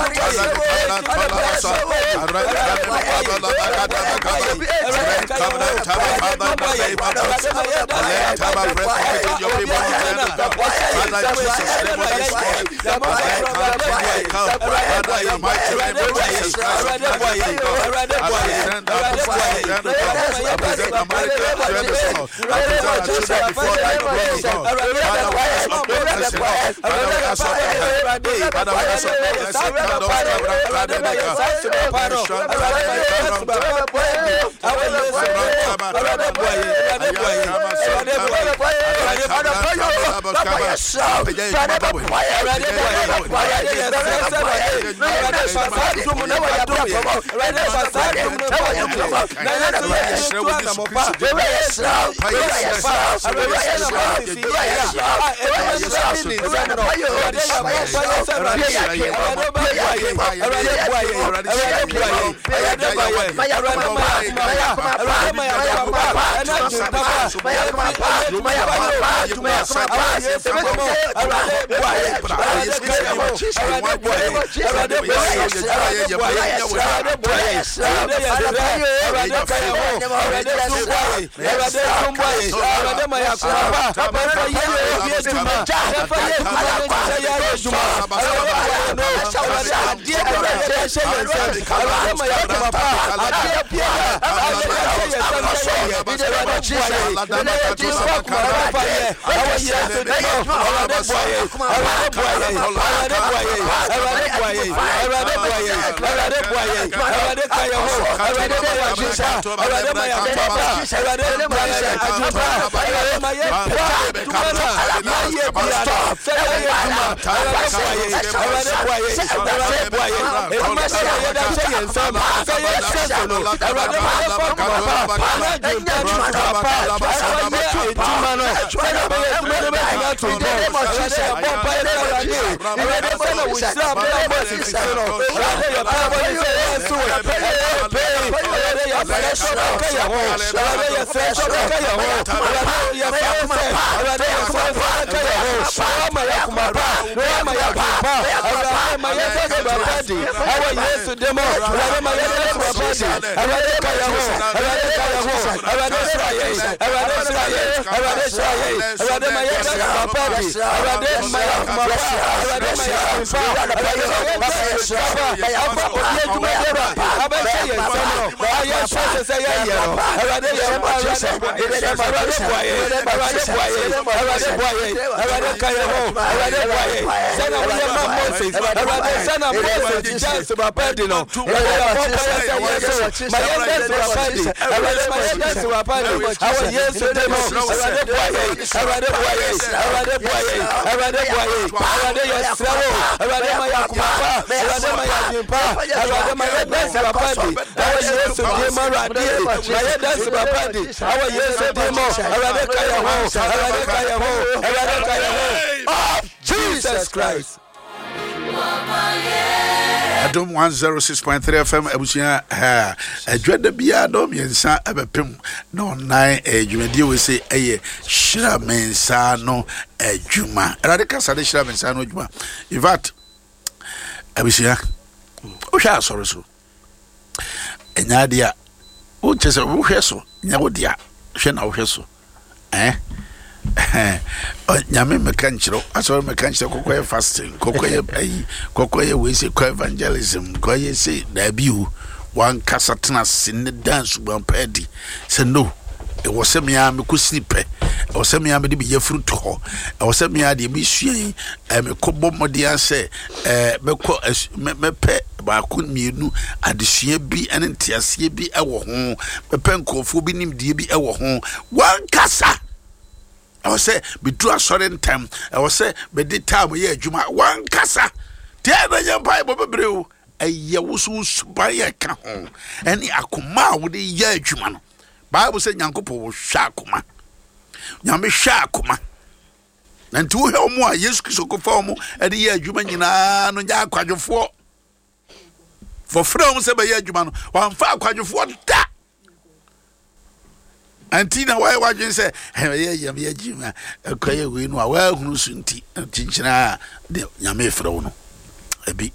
mu, bɛboa yɛn, boa yɛn, Awurade boa yɛn, Awurade ka yɛn ho, Awurade ma yɛn adwene pa, Awurade ma yɛn akoma pa, Awurade ma yɛn adwene pa, Awurade ma yɛn pa adwuma no a yɛyɛ biara no, sɛ yɛyɛ adwuma, Awurade boa yɛn, Awurade boa yɛn, Awurade boa yɛn, adwuma biara a yɛde ahyɛ yɛn nsam sɛ yɛnhwɛ so no, Awurade ma yɛmfa akoma pa ne adwene pa ne suban pa ɛmfa nyɛ adwuma no, sɛdeɛ ɛbɛyɛ adwuma no bɛtumi ato mpɔn. Awurade yɛbɔ mpaeɛ sɛ Awurade, Awurade sɛdeɛ wo hyira baa Moses so no, Awurade yɛ mpaebɔ ne sɛ yɛn nso ɛyɛ pɛi, Awurade yɛsrɛ sɛ wobɛka yɛn ho, Awurade yɛsrɛ sɛ wobɛka yɛn ho, Awurade yɛsrɛ wo sɛ, Awurade yɛsrɛ wo sɛ wobɛka yɛn ho, na woama yɛn akoma pa, na woama yɛn adwene pa, Awurade ma yɛmfa suban pa di, ɛwɔ Yesu din mu, Awurade ma yɛmfa suban pa di, Awurade ka yɛn ho, Awurade ka yɛn ho, Awurade hyira yɛn, Awurade hyira yɛn, Awurade hyira yɛn, Awurade ma yɛmfa suban pa di, Awurade ma yɛn akoma pa, Awurade ma yɛn adwene pa, Awurade ma yɛmfa sika pa, afa obi adwuma biara abɛhyɛ yɛn nsam no, a yɛnhyɛ sɛ sɛ yɛyɛ no, Awurade yɛ Awurade Awurade boa yɛn, Awurade boa yɛn, Awurade boa yɛn, Awurade ka yɛn ho, Awurade boa yɛn, sɛnea woyɛ ma Moses, Awurade sɛnea Moses gyaa suban pa adi no, Awurade yɛbɔ mpaeɛ sɛ yɛn nso ma yɛnda suban pa adi, Awurade ma yɛnda suban pa adi, ɛwɔ Yesu din mu, Awurade boa yɛn, Awurade boa yɛn, Awurade boa yɛn, Awurade boa yɛn, Awurade yɛsrɛ wo, Awurade ma yɛn akoma pa, Awurade ma yɛn adwene pa, Awurade ma yɛnda suban pa adi, ɛwɔ Yesu din mu, Awurade ma yɛnda suban pa adi, ɛwɔ Yesu din mu, Awurade ka yɛn ho, Awurade ka yɛn ho, Awurade ka yɛn ho, of Jesus Christ. Adom one oh six point three F M abusua, adwada biara dɔ mmiɛnsa ɛbɛpem na ɔnan ɛyɛ dwumadie wei sɛ ɛyɛ Hyira Me Nsa no Adwuma. Awurade kasa de hyira me nsa no adwuma. In fact, abusua, wohwɛ asɔre so ɛnyɛ adeɛ a wonkyɛ sɛ wohwɛ so nyɛ wo dea, hwɛ na wohwɛ so eh Nyame meka nkyerɛ asɔre, meka nkyerɛ kɔkɔyɛ fasting, kɔkɔyɛ ayi, kɔkɔyɛ wei sɛ kɔ evangelism, kɔyɛ sɛ daabi o. Wankasa tena ase ne dan suban pa adi sɛ no, ɛwɔ sɛ mea mekɔsiri pɛ, ɛwɔ sɛ mea mede meyɛfuru to hɔ, ɛwɔ sɛ mea deɛ mesua yi mekɔbɔ mmɔden sɛ mɛkɔ mɛpɛ baako mmienu adesua bi ne nteaseɛ bi wɔ ho, mɛpɛ nkurɔfoɔ bi nimdeɛ bi wɔ ho. Wankasa ɛwɔ sɛ meduru asɔre ntɛm, ɛwɔ sɛ mede time yɛ adwuma. Wankasa deɛ na nyɛ mpaebɔ bebree o, ɛyɛ wo so wo suban yɛ ka ho ɛne akoma a wode yɛ adwuma no. Bible sɛ Nyankopɔn wɔhwɛ akoma, Nyame hwɛ akoma. Na nti wohwɛ wɔn a Yesu Kristo kɔfa wɔn de yɛ adwuma nyinaa no, nyɛ akwadwofoɔ. Wɔfrɛ wɔn sɛ bɛyɛ adwuma no, wɔamfa akwadwofoɔ da. Nti na wɔayɛ wadwene sɛ ɛyɛ yɛm yɛ gyima ɛkɔyɛ wei no a wɔahunu so nti kyinkyina a de Nyame frɛ wo no. Ebi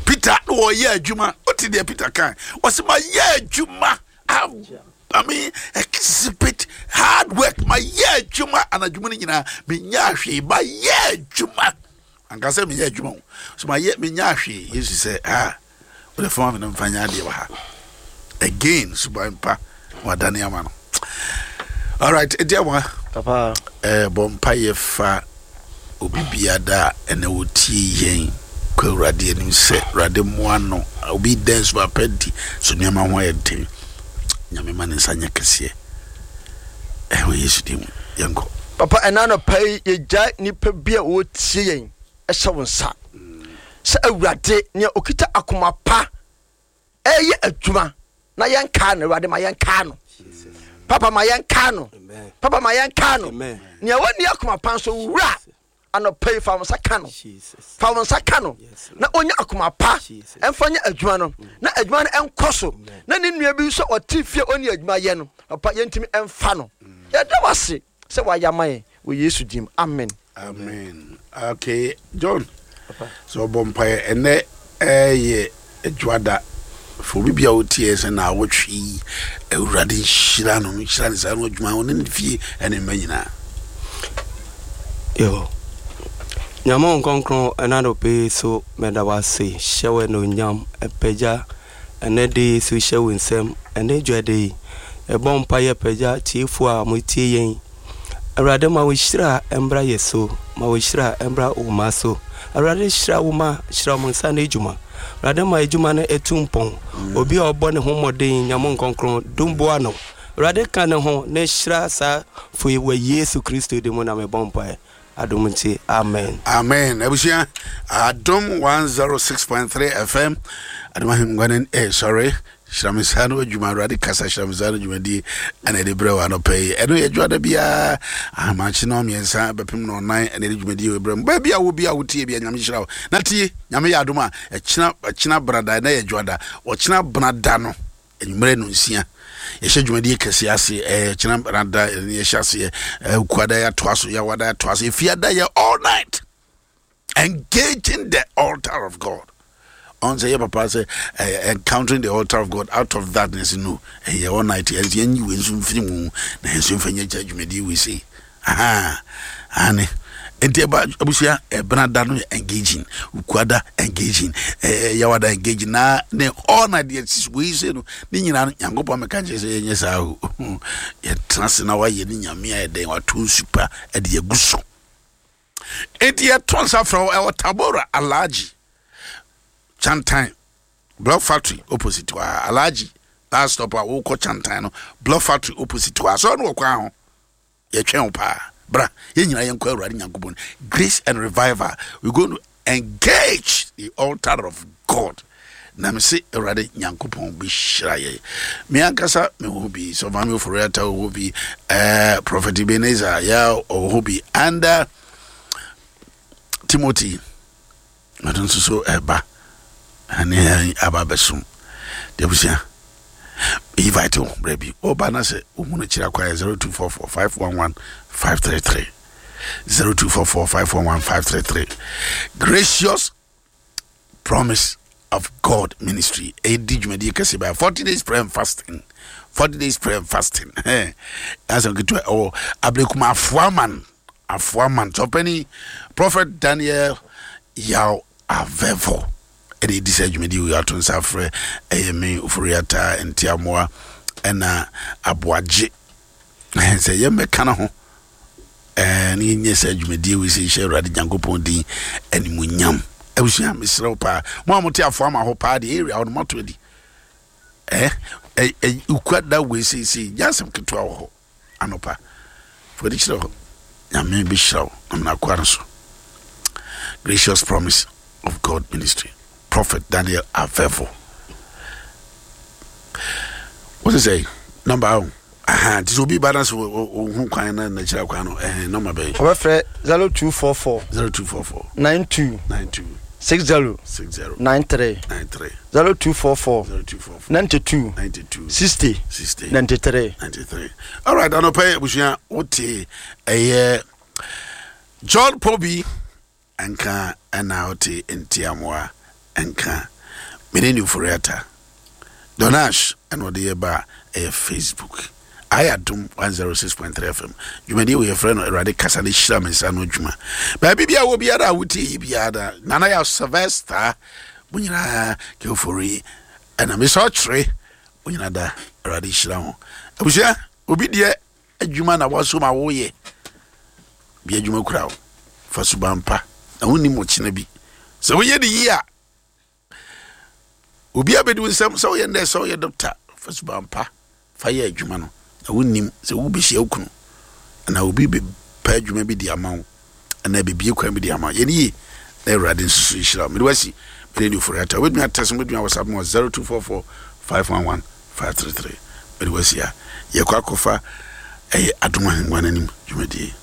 Peter na wɔyɛ adwuma, wote deɛ Peter kan wɔsɛ ma yɛ adwuma, I mean, exhibit hard work, ma yɛ adwuma anadwuma no nyinaa menya hwee, ma yɛ adwuma ankasa meyɛ adwuma o so ma yɛ menya hwee. Yesu sɛ, ah, wode fama me no mfa nyɛ adeɛ wɔ ha. Again, suban pa wadane ama no. Alright, ɛdi awa. Papa. eh, bɔ mpayɛ fa obi biada a ɛnɛ wɔtie yɛn kɔ Awurade anim sɛ Awurade mmoa no. Obi dɛn so apɛ di so nneɛma ho ayɛ den, Nyame ma ne nsa nyɛ kɛseɛ ɛwɔ Yesu din mu. Yɛnkɔ. Papa, ɛna anɔpa yi yɛgya nnipa bi a wɔtie yɛn ɛhyɛ wo nsa sɛ Awurade, nea ɔkita akoma pa ɛyɛ adwuma na yɛnkaa no, Awurade ma yɛnkaa no. Papa, ma yɛnkaa no. Papa, ma yɛnkaa no. Nea wɔnni akoma pa nso, wura, anɔpa yi fa wo nsa ka no, fa wo nsa ka no na ɔnya akoma pa ɛmfa nyɛ adwuma no na adwuma no ɛnkɔ so, na ne nua bi nso ɔte fie ɔne adwuma yɛ no. Papa, yɛntumi ɛmfa no. Yɛda wo ase sɛ wayɛ ama yɛn wɔ Yesu dim, amen. Amen. Okay, John, sɛ ɔbɔ mpaeɛ. Ɛnɛ ɛyɛ adwuada for obi bia wotie sɛ na awɔtwe yi, Awurade nhyira no, nhyira ne saa no adwuma ɔne ne fie ɛne mma nyinaa. Yo, Nyame wo nkronkron, ɛna anɔpa yi so mɛda wo ase, hyɛ wo anuonyam, ɛpagya ɛnɛ de yi so hyɛ wo nsɛm. Ɛnɛ dwade yi ɛbɔ mpa yɛ pagya tiefoɔ a motie yɛn. Awurade, ma wo hyira mbra yɛ so, ma wo hyira mbra wo ma so. Awurade hyira wo ma hyira mo nsa no adwuma. Awurade ma adwuma no ɛtu mpɔn. Obi a ɔbɔ ne ho mmɔden, Nyame nkronkron dom boa no. Awurade ka ne ho na hyira saa fo yi wɔ Yesu Kristo din mu na mebɔ mpaeɛ. Adom nti, amen. Amen. Abusua, Adom one oh six point three F M, Adom ahengua no, eh, sorry, hyira me nsa no adwuma, Awurade kasa hyira me nsa no dwumadie ɛna ɛde brɛ wɔ anɔpɛ yi. Ɛno yɛ dwoada biara ahamakye no mmiɛnsa bɛpem no ɔnan ɛna ɛde dwumadie wɔ brɛ mu. Baabi a wo bi a wotie bi a, Nyame hyira wo na tie. Nyame yɛ adom a, ɛkyena ɛkyena brada, ɛna yɛ dwoada, ɔkyena brada no anwummerɛ no nsia yɛhyɛ dwumadie kɛseɛ ase. Ɛɛ kyena brada ɛne yɛhyɛ aseɛ. Ɛɛ kuada yɛatoa so, yɛawada yɛatoa so, efiada yɛ all night engaging the altar of God. Ɔn sɛ yɛ papa sɛ uh, encountering the altar of God, out of that ness no ɛyɛ all night. Yɛn yɛn yi wei nso mfiri mu na yɛn nso mfa nyɛ gya dwumadie wei sei aha ane. Nti ɛba abusua, ɛbena da no yɛ engaging, ukuada engaging, ɛɛ yawada engaging, na ne all night yɛ sisi wei sei no ne nyinaa no. Nyankopɔn meka kyerɛ sɛ yɛnyɛ saa o, yɛtena ase na wayɛ ne Nyame a yɛdɛn wato nsu pa ɛde agu so. Enti yɛto nsa frɛ wo ɛwɔ Tabora, Alhaji Chantan Block Factory opposite hɔ a, Alhaji last stop a wokɔ Chantan no, Block Factory opposite hɔ a, sɛ ɔno wɔ kwan ho. Yɛtwɛn wo paa, bra yɛn nyinaa yɛnkɔ Awurade Nyankopɔn. Grace and revival, we going to engage the altar of God na me se Awurade Nyankopɔn bɛhyira yɛ. Me ankasa mewɔ hɔ bi, Sɔfami Oforiata wɔ hɔ bi, uh, Prophet Ebenezer yɛ ɔwɔ hɔ bi, and uh, Timothy ɔno nso so ɛba ɛne aba abɛsom de. Abusua, invite wo berɛ bi ɔba na sɛ wohu no kyerɛ akwa yɛ zero two four four five one one five three three, zero two four four five one one five three three. Gracious Promise of God Ministry ɛdi dwumadie kɛse bɛyɛ forty days prayer and fasting, forty days prayer and fasting. Asɛm ketewa ɛwɔ Ablekuma Afoaman, Afoaman sɔpɛni Prophet Daniel Yaw Avɛvo ɛna ɛdi sɛ dwumadie wei ato nsa frɛ. Ɛyɛ me Oforiata Ntiamoa ɛna Aboagye sɛ yɛmmɛka no ho ɛɛ ne yɛnyɛ sɛ dwumadie wei sɛ hyɛ Awurade Nyankopɔn din animuonyam. Abusua, mesrɛ wo paa, mo a mote Afoama hɔ paa deɛ, area hɔ no moato adi ɛ ɛ ukua da wei seesei nyɛ asɛm ketewa wɔ hɔ. Anɔpa fɔde kyerɛ hɔ, Nyame bɛhyira wo nam nakoa no so. Gracious Promise of God Ministry, Prophet Daniel Avevo. Wote sɛ number o aha, nti sɛ obi ba na sɛ ɔhu kwan na nakyerɛ kwan no, ɛhɛn number bɛyɛ? Ɔbɛfrɛ zero two four four zero two four four nine two nine two six zero six zero nine three. Nine three. zero two four four zero two four four ninety-two ninety-two sixty sixty ninety-three. Ninety-three. All right, anɔpɛ abusua, wote ɛyɛ John Pobi nka ɛna wote Ntiamoa nka mene ne Oforiata Donash ɛna ɔde yɛ ba a ɛyɛ Facebook ayɛ Adom one oh six point three F M. Dwumadie wɔ yɛfrɛ no Awurade kasa ne hyira me nsa no adwuma. Baabi bia wɔ biara a wotie yi biara da Nana yɛ Sylvester, mo nyinaa kɛfori ɛna mesɛ ɔkyerɛ mo nyinaa da. Awurade hyira ho. Abusua, obi deɛ adwuma na wasom a woyɛ bi adwuma kura wo fa suban pa na wonnim ɔkyena bi sɛ woyɛ de yie a obi abɛdi wo nsɛm sɛ woyɛ ndɛ sɛ woyɛ doctor, fa suban pa fa yɛ adwuma no na wonnim sɛ wobɛhyia wo kunu anaa obi bɛpɛ adwuma bi de ama wo anaa bibie kwan bi de ama wo. Yɛne yie na Awurade nso so nhyira wo. Mede wasi mede ne Ofori ata. Wobɛtumi atɛse, wobɛtumi awɔsap mu wɔ zero two four four five one one five three three. Mede wasi a yɛkɔ akɔfa ɛyɛ Adom Ahengua no anim dwumadie.